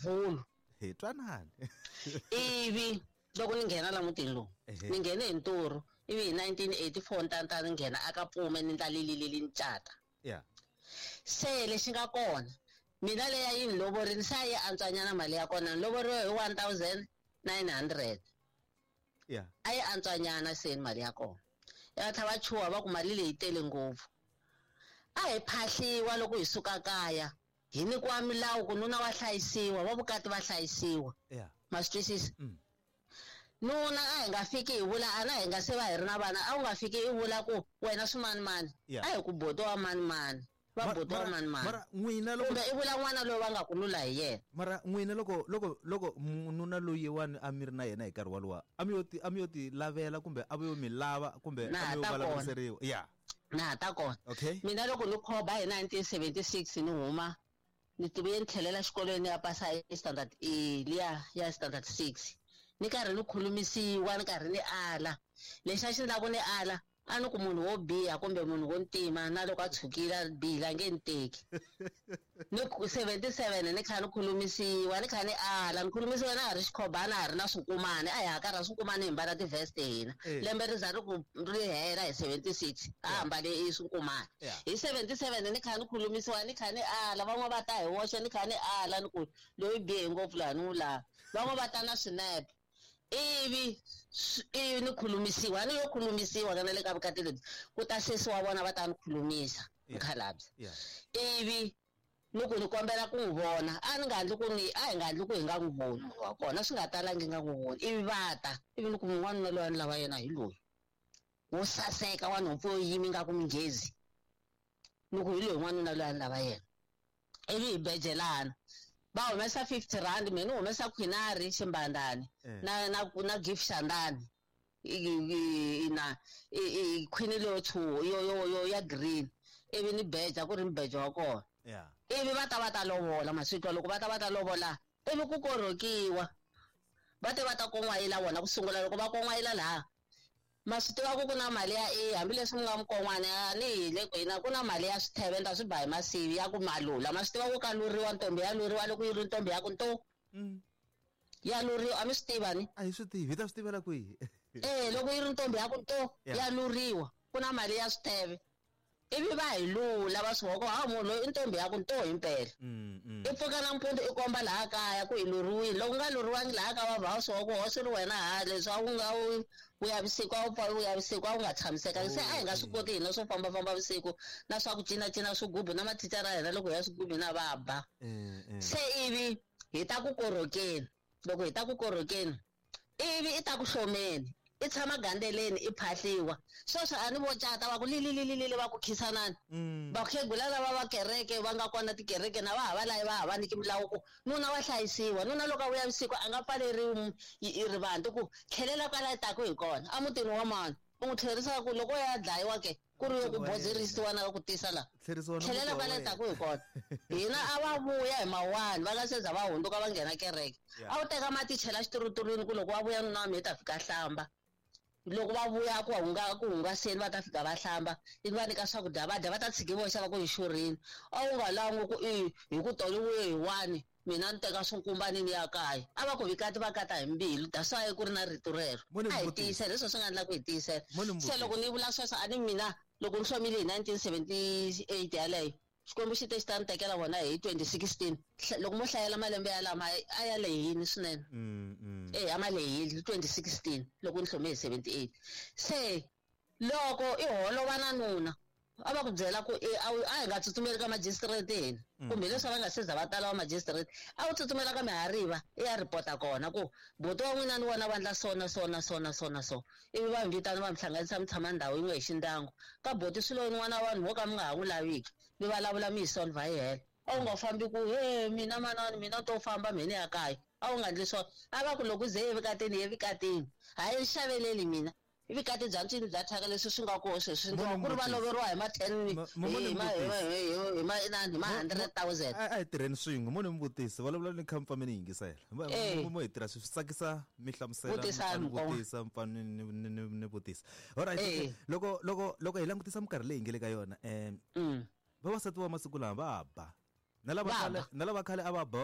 Vulu. Hi twanani. Ivi loko ni nghena la mutini lowu, ni nghene hi nturu, ivi hi 1984 ntanta ni nghena aka Pfume ni ndla lililili ni cata. Yeah. Se lexi nga kona, mina leya yi ni lovorini se a yi antswanyana mali ya kona, ni lovoriwe hi 1900. Yeah. A yi antswanyana se mali ya kona. Ya tlhela va chuha va ku mali leyi tele ngopfu. A hi phahliwa loko hi suka kaya, hi nyikiwa milawu ku nuna wa hlayisiwa, va vukati va hlayisiwa. Yeah. Ma swi twisisa? Mm. Nuna a hi nga fiki hi vula, ana hi nga se va hi ri na vana, a wu nga fiki i vula ku wena swimanimani. Yeah. A hi ku buti wa manimani, va buti wa manimani. Mara n'wina loko Kumbe i vula n'wana loyi va nga ku lula hi yena. Mara n'wina loko loko loko nuna loyi wani a mi ri na yena hi nkarhi walowa, a mi yo ti, a mi yo ti lavela kumbe a va yo mi lava kumbe Na a mi yo ta kona. vulavuriseriwa? Yeah. Na ha ta kona. Okay. Mina loko ni khoba hi 1976 ni huma, ni tivuye ni tlhelela xikolweni ya pasa hi standard E liya ya standard 6. Ni karhi ni khulumisiwa, ni karhi ni ala. Lexi a xi endla ku ni ala, a ni ku munhu wo biha kumbe munhu wo ntima na loko a tshukile a bihile a nge ni teki. Ni ku 77 ni kha ni khulumisiwa, ni kha ni ala, ni khulumisiwa na ha ri xikhobana, ha ri na swinkumani, a hi hakarha swinkumani hi mbala ti-vest hina. Eh. Lembe ri za ri ku ri hela hi 76, a hambale i swinkumani. Yeah. Hi 77 ni kha ni khulumisiwa, ni kha ni ala, van'wana va ta hi woxe, ni kha ni ala, ni ku loyi bihe ngopfu laha ni n'wi lava. Van'wana va ta na swinepe. Ivi ivi ni khulumisiwa, ni yo khulumisiwa ka na le ka vukati lebyi, ku ta sesi wa vona va ta ni khulumisa, Yeah. mukhalabye. Yeah. Ivi ni ku ni kombela ku n'wi vona, a ni nga endli ku ni, a hi nga endli ku hi nga n'wi voni munhu wa kona, swi nga talangi nga n'wi voni. Ivi va ta, ivi ni ku n'wanuna loyi a ni lava yena hi loyi, wo saseka wa nhompfu yo yima ingaku minghezi, ni ku hi loyi n'wanuna loyi a ni lava yena. Ivi hi bejelana, va humesa 50 rand, mina ni humesa khwinari ximbandani, Eh. na gift xandani, na khwini leyo tshuwa, yo, yo, yo, ya green, ivi ni beja ku ri mbejo wa kona. Yeah. Ivi va ta va ta lovola masiku loko va ta va ta lovola, ivi ku korhokiwa, va te va ta kon'wayila vona ku sungula. Loko va kon'wayila laha, ma swi tiva ku ku na mali ya e, hambileswi mi nga mukon'wana ya ni hi le kwini, ku na mali ya switheve, ni ta swi ba hi masivi ya ku malula. Ma swi tiva ku ka luriwa ntombi ya luriwa loko yi ri ntombi ya ku nto. Mm. Ya luriwa, a mi swi tiva ni? A hi swi tivi, hi ta swi tivela kwihi? Eh, loko yi ri ntombi ya ku nto, Yeah. ya luriwa, ku na mali ya switheve. Ivi va hi lula, va swi vona ku, ha, munhu loyi i ntombi ya ku nto himpela. Mm, mm. I pfuka nampundzu i komba laha kaya ku hi luriwile. Loko u nga luriwangi laha kaya, va va swi vona ku ho swi ri wena ha, leswi a wu nga wu vuya vusiku, a wu pfa vuya vusiku, a wu nga tshamisekanga. Se a hi nga swi koti hina swo fambafamba vusiku, na swa ku cinacina swigubu, na mathicara ya hina loko hi ya swigubu na va ba. Eh, eh. Se ivi hi ta ku korhokeni, loko hi ta ku korhokeni, ivi i ta ku hlomeni, i tshama gandeleni, i phahliwa. Sweswo a ni vo cata va ku lilililili va ku khisanani. Mm. Vakhegula lava va kereke va nga kona tikereke na va ha va layi, va ha va nyiki milawu ku nuna wa hlayisiwa. Nuna loko a vuya vusiku a nga pfaleriwi i rivanti ku tlhelela kwala taku hi kona a mutini wa mani, u n'wi tlherisa ku loko ya dlayiwa ke ku ri yo ku Wa yena. bozerisiwa na ku tisa la. Tlherisiwa na Tlhelela muti wa kwala wena. taku hi kona. Hina a va vuya hi mawani, va nga se za va hundzuka va nghena kereke. Yeah. A wu teka mati chela xiturutulwini ku loko va vuya nuna wa mina i ta fika hlamba. Loko va vuya ku hunga, ku hungaseni va ta fika va hlamba, ivi va nyika swakudya va dya, va ta tshiki voxa va ku hi xurhini. A wu nga langi ku i hi ku tolo vuye hi wani, mina ni teka swinkumbani ni ya kaya. A va ku vikati va kata hi mbilu, that's why ku ri na rito rero. Mo ni A hi vutisa. tiyisela, leswi swi nga endla ku hi tiyisela. Mo ni Se loko vutisa. ni vula sweswo, a ni mina loko ni hlomile hi 1978 yaleyo, Xikwembu xi te xi ta ni tekela vona hi 2016. Loko mo hlayela malembe ya lama, a ya lehile swinene. Mm, mm. Eh, a ma lehile 2016 loko ni hlome hi 78. Se loko i holova na nuna, a va ku byela ku, eh, a hi nga tsutsumeli ka magistrate hina. Mm. Kumbe leswi va nga se za va tala va magistrate, a wu tsutsumela ka mihariva, i ya ripota kona ku buti wa n'wina ni wona va endla so na so na so na so na so. Ivi va mi vitana va mi hlanganisa mi tshama ndhawu yin'we hi xindyangu. Ka buti swilo yin'wana wa vanhu vo ka mi nga ha n'wi laviki, mi vulavula mi hi solve yi hela. A wu nga fambi ku, he, mina manani, mina to famba mheni ya kaya. A wu nga endli swona. A va ku loko ze evukatini, evukatini. Hayi, xaveleli mina. I vukati bya ncini bya thyaka leswi swi nga koho sweswi, Mo ni ku ri va vutisa. loveriwa hi ma ten, Mo ni hi ma, hi ma, vutisa. hi ma, inani, hi ma hundred thousand. A hi tirheni swin'we, mo ni mi vutisa, vulavula ni kha mi pfa mi ni yingisela. Eh. Mo hi tirha swi tsakisa mi hlamusela, mi Vutisani, pfa ni Mukoma. vutisa, mi pfa ni vutisa. Alright, Eh. okay. Loko hi langutisa minkarhi leyi hi nge le ka yona, Mm. vavasati va masiku lama va ba. Na lava Va khale, ba. na lava khale a va ba.